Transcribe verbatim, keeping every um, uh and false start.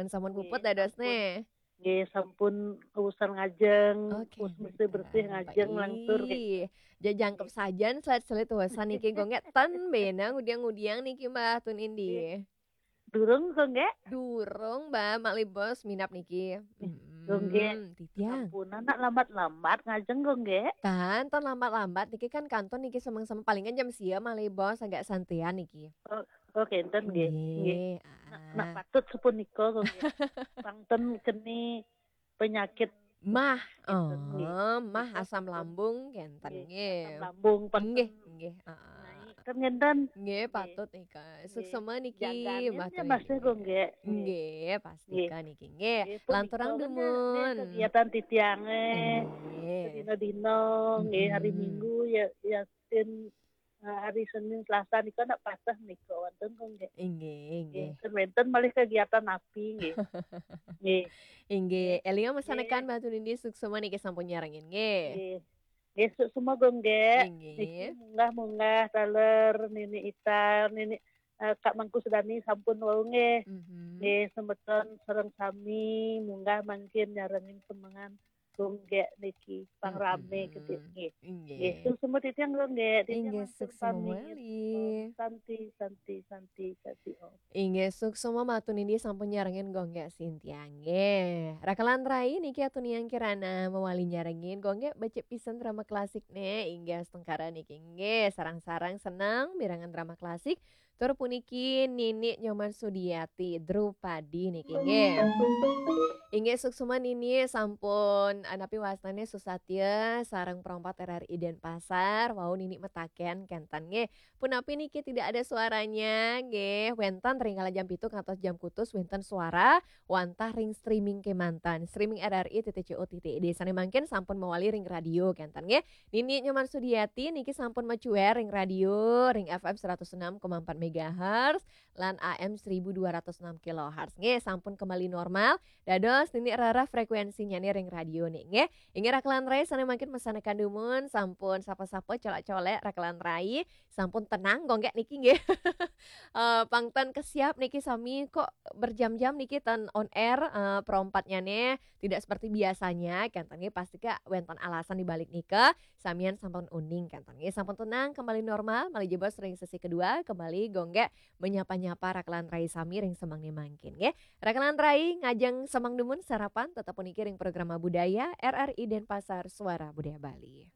Sampun puput dados nggih, neh. Nggih, sampun urusan ngajeng, oke, wis mesti bersih, ah, ngajeng, langsur, nggih. Ih, jajangkep sajan selit-selit urusan niki, Gung, nggih. Ten bena ngudiang-ngudiang niki, Mbah, tun indi. Nggih. Durung, Gung, nggih? Durung, Mbah, malih bos minap niki. Ih, Gung, nggih. Mm-mm, titiang. Sampunan nak lambat-lambat ngajeng, Gung, nggih. Kan, ten lambat-lambat niki kan kantun niki semeng-semeng palingan jam sia malih bos agak santian niki. Oh, oh, kenten, nggih. Nggih. Nggih, nak, nak ah, patut sepunika, Gung, nggih. Pang ten keni penyakit. Mah, kenten, nggih. Oh, mah, asam lambung kenten, nggih, nggih. Asam lambung, pang ten. Nggih, nggih, heeh. Naik, kan ngenten. Nggih, nggih, patut nika. Nggih. Suksema niki, jaganin Mbah ya, Tun Mas, indi. Gung, nggih. Nggih. Nggih, pastika niki, nggih. Nggih, punika lanturang kan, dumun. Nggih, kegiatan titiange. Nggih. Sedina-dina, nggih, hari, mm-mm, Minggu ya, ya, Senin, eh, hari Senin, Selasa nika nak pasah nika wonten, Gung, nggih. Inggih, inggih. Nggih, ten wenten malih kegiatan napi, nggih. Nggih. Inggih. Nggih. Elinga masanekan, nggih, Mbah Tun indi suksema niki sampun nyarengin, nggih. Nggih. Nggih, suksema, Gung, nggih. Inggih. Niki munggah-munggah taler Nini Itar, Nini, eh, Kak Mangku Sudani sampun wau, nggih. Mhm. Nggih, semeton sareng sami munggah mangkin nyarengin semengan, Gung, nggih, niki pang rame, mm-mm, gedhe, nggih. Inggih. Nggih, suksema titiang, Gung, nggih. Titiang, inggih, langsung suksema pamit. Malih. Om Santi, Santi, Santi, Santi, Om. Inggih, suksema Mbah Tun indi sampun nyarengin, Gung, nggih, Sintia, nggih. Rakalan rai niki atunian kirana mawali nyarengin, Gung, nggih, becik pisan drama klasik, neh, inggih, astungkara niki, nggih, sareng-sareng seneng mirengang drama klasik. Tur puniki Nini Nyoman Sudiati, Drupadi niki, nggih. Inggih, suksema Nini sampun, eh, napi wastane susatya sareng perompat R R I Denpasar, wau Nini metaken kenten, nggih. Punapi niki tidak ada suaranya, nggih. Wenten ring kala jam pitu ngantos jam kutus wenten suara wantah ring streaming kemanten. Streaming R R I titik C O titik I D. Sane mangkin sampun mawali ring radio kenten, nggih. Nini Nyoman Sudiati niki sampun macuer ring radio, ring F M seratus enam koma empat megahertz lan A M seribu dua ratus enam kilohertz. Nggih, sampun kembali normal. Dados Nini rereh frekuensinyane ring radio nih, nggih. Inggih, rakalan rai sane mangkin masanekan dumun, sampun sapa-sapa, colek-colek, rakalan rai, sampun tenang, Gung, nggih, niki, nggih. Eh, pang ten kesiap niki sami kok berjam-jam niki ten on air, eh, perompatnyane tidak seperti biasanya, kenten, nggih, pastika wenten alasan di balik nika, samian sampun uning, kenten, nggih, sampun tenang, kembali normal, malih jebos ring sesi kedua, kembali, Gung, nggih, menyapa-nyapa rakalan rai sami ring semengne mangkin, nggih. Rakalan rai ngajeng semeng dumun sarapan, tetep puniki ring programa budaya R R I Denpasar Suara Budaya Bali.